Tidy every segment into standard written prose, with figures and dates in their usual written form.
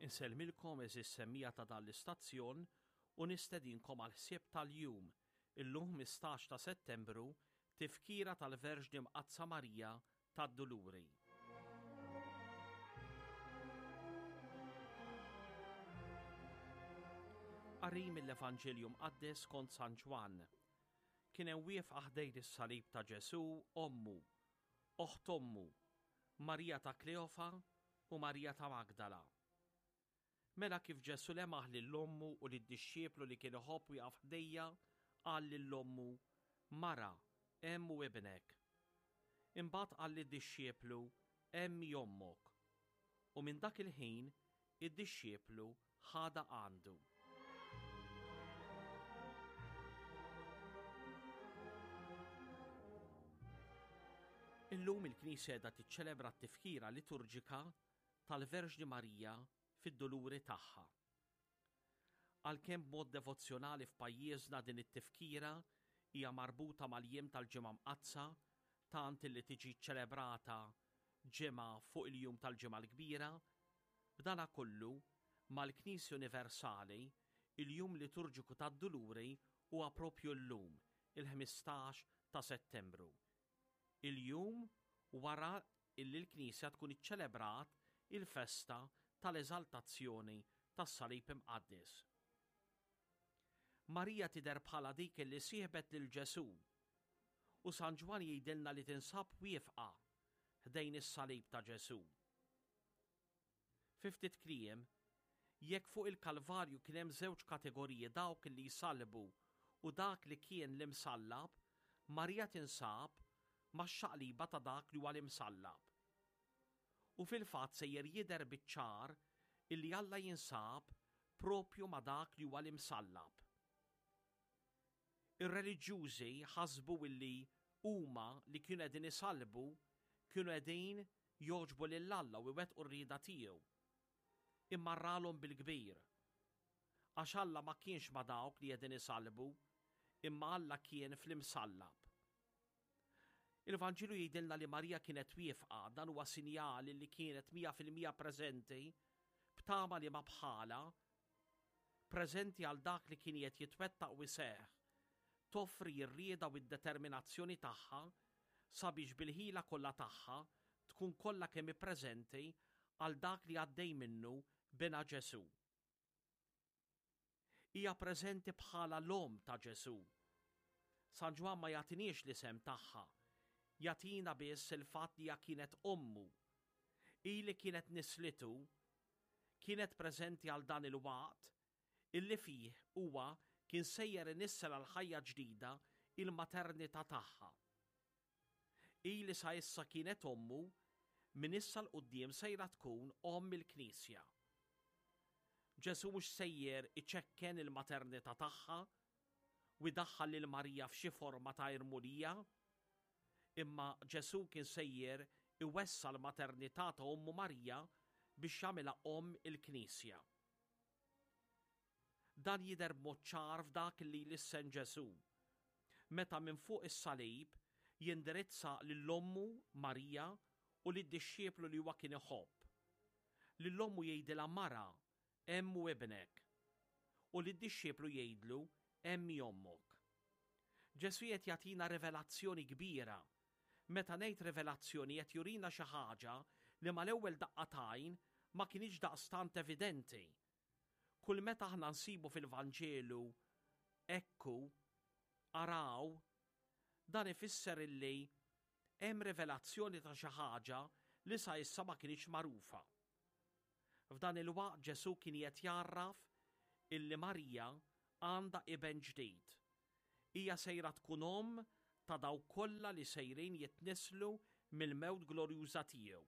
Insellmilkom għeżież semmiegħa ta' dan l-istazzjon u nistedinkom għall-ħsieb tal-jum, illum 15 ta' Settembru, tifkira tal-Verġni Mqaddsa Marija tad-Duluri. Qari mill-Evanġelju Mqaddes skont San Ġwann. Kien hemm wieqfa ħdejn is-salib ta' Ġesù ommu, oħt ommu, Marija ta' Kleofa u Marija ta' Magdala. Mela kif Ġesù lemaħ lil ommu u lid-dixxiplu li kien iħobb wieqaf ħdejja, qal lil ommu, Mara, hemm hu ibnek. Imbagħad qal lid-dixxiplu, Hemm hi ommok. U minn dak il-ħin id-dixxiplu ħadha għandu. Illum il-Knisja qiegħda tiċċelebra t-tifkira liturġika tal-Verġni Marija fid-duluri tagħha. Għalkemm b'mod devozzjonali f'pajjiżna din it-tifkira hija marbuta mal-jiem tal-Ġimgħa Mqaddsa tant illi tiġi ċċelebrata ġimgħa fuq il-jum tal-Ġimgħa l-Kbira, b'danakollu, mal-Knisja Universali, il-jum liturġiku tad-Duluri huwa propju llum, il-15 ta' Settembru. Il-jum wara illi l-Knisja tkun iċċelebrat il-festa tal-Eżaltazzjoni tas-Salib Imqaddes. Marija tidher bħala dik illi sieħbet lil Ġesù u San Ġwann jgħidilna li tinsab wieqfa ħdejn is-salib ta' Ġesù. Fi ftit kliem, jekk fuq il-Kalvarju kien hemm żewġ kategoriji dawk li jsallbu u dak li kien l-imsallab, Marija tinsab max-xaqliba ta' dak li huwa l-imsallab. U fil-fatt sejjer jidher biċ-ċar illi Alla jinsab propju ma' dak li huwa l-imsallab. Ir-reliġjużi ħasbu illi huma li kienu qegħdin isallbu kienu qegħdin jogħġbu lil Alla u jwettqu r-rieda tiegħu. Imma ralhom bil-kbir. Għax Alla ma kienx ma' dawk li qegħdin isallbu, imma Alla kien fl-imsallab. Il-Vanġelu jgħidilna li Marija kienet wieqfa, dan huwa sinjal li kienet 100% preżenti, b'tama li ma bħala, preżenti għal dak li kien qed jitwettaq u jseħħ, toffri r-rieda u d-determinazzjoni tagħha sabiex bil-ħila kollha tagħha tkun kollha kemm hi preżenti għal dak li għaddej minnu binha Ġesù. Hija preżenti bħala l-omm ta' Ġesù. San Ġwann ma jagħtiniex l-isem tagħha, jagħtina biss il-fatt li hija kienet ommu. Hi li kienet nislitu, kienet preżenti għal dan il-waqt illi fih huwa kien sejjer inissel għal ħajja ġdida il-maternità tagħha. Hi li sa issa kienet ommu, minn issa 'l quddiem sejra tkun omm il-Knisja. Ġesù mhux sejjer iċekken il-maternità tagħha u jdaħħal lil Marija f'xi forma ta' irmulija, imma Ġesù kien sejjer iwessa' l-maternità ta' ommu Marija biex jagħmilha omm il-Knisja. Dan jidher b'mod ċar f'dak li jlissen Ġesù, meta minn fuq is-salib jindirizza lil ommu, Marija, u lid-dixxiplu li huwa kien iħobb. Lil ommu jgħidilha Mara, hemm hu ibnek. U lid-dixxiplu jgħidlu hemm hi ommok. Ġesù qed jagħtina rivelazzjoni kbira. Meta ngħid rivelazzjoni qed jurina xi ħaġa li mal-ewwel daqqa t'għajn ma kinitx daqstant evidenti. Kull meta aħna nsibu fil-Vanġelu ekku, araw, dan ifisser illi hemm rivelazzjoni ta' xi ħaġa li sa issa ma kinitx magħrufa. F'dan il-waqt Ġesù kien qed jgħarraf illi Marija għandha iben ġdid. Hija sejra tkun omm ta' dawk kollha li sejrin jitnisslu mill-mewt glorjuża tiegħu,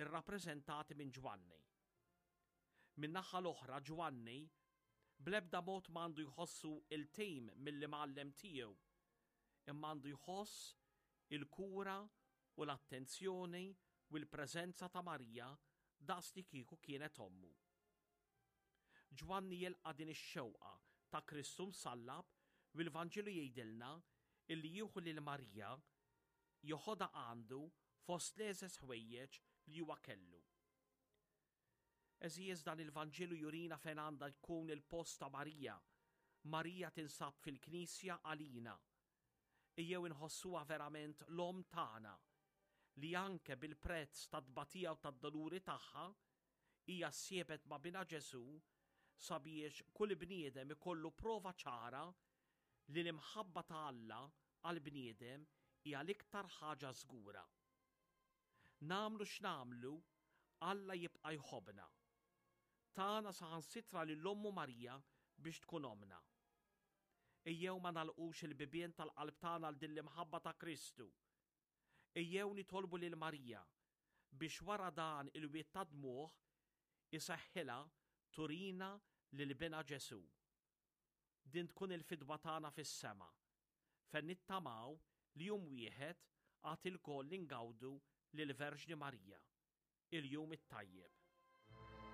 irrappreżentati minn Ġwanni. Min-naħa l-oħra Ġwanni bl-ebda mod ma għandu jħossu iltim mill-imgħallem tiegħu, imma għandu jħoss il-kura u l-attenzjoni u l-preżenza ta' Marija daqs li kieku kienet ommu. Ġwanni jilqa' din ix-xewqa ta' Kristu msallab u l-Vanġelu jgħidilna illi jieħu lil Marija joħodha għandu fost l-għeżeż ħwejjeġ li huwa kellu. Għeżież dan il-Vanġelu jurina fejn għandha jkun il-post ta' Marija. Marija tinsab fil-Knisja għalina. Ejjew inħossuha verament l-Omm tagħna, li anke bil-prezz tat-tbatija u tad-doluri tagħha, hija ssiebet ma' Binha Ġesù sabiex kull bniedem ikollu prova ċara li l-imħabba ta' Alla għall-bniedem hija l-iktar ħaġa żgura. Nagħmlu x'nagħmlu, Alla jibqa' jħobbna. Tana saħansitra lil Ommu Marija biex tkun ommna. Ejjew ma nagħlqux il-bibien tal-qalb tagħna għal din l-imħabba ta' Kristu. Ejjew nitolbu lil Marija biex wara dan il-wied ta' dmugħ iseħħilha turina lil Binha Ġesù. Din tkun il-fidwa tagħna fis-sema, fejn nittamaw li jum wieħed għad ilkoll ingawdu lill-Verġni Marija. Il-Jum it-Tajjeb.